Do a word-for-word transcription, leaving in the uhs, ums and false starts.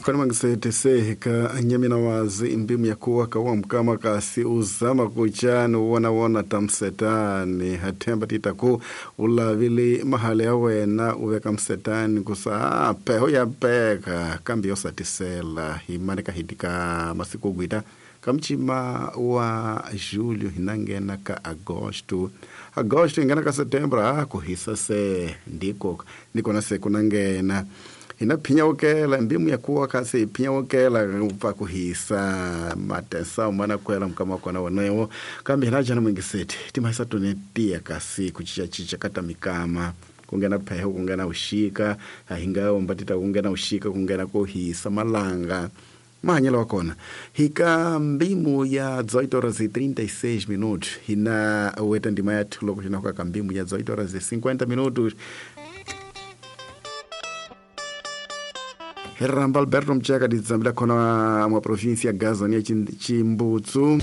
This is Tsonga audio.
Khona mangisetese ka nyamina wazi mbimu ya kuwa kawa mkama kasi uzama kuchani wona wona tamsetani hathemba titaku ulavili mahali ya wena uveka msetani kusa peho ya peka kambi yosatisela himane kahitika masiku gwita kamchima wa julho hinangena ka agosto agosto ingena ka setembro ah kuhisa se ndiko ndiko se kunangena hina phinyawukela mbimu ya kuwa kasi phinyawukela upfa kuhisa matesa umana kwela mkama kona wonewo kambe hina jana mwingiseti timahisa tone tiya kasi kuchichachicha kata mikama kungena pheho kungena ushika ahinga ombatita kungena ushika kungena kuhisa malanga mahanyelo wa kona hika mbimu ya dezoito horas e trinta e seis minutos hina weta ndima yathu loko xinakuka ka mbimu ya dezoito horas e cinquenta minutos Ramba Alberto Mchaka dizambila khona mwa província ya Gaza ni Chimbutsu.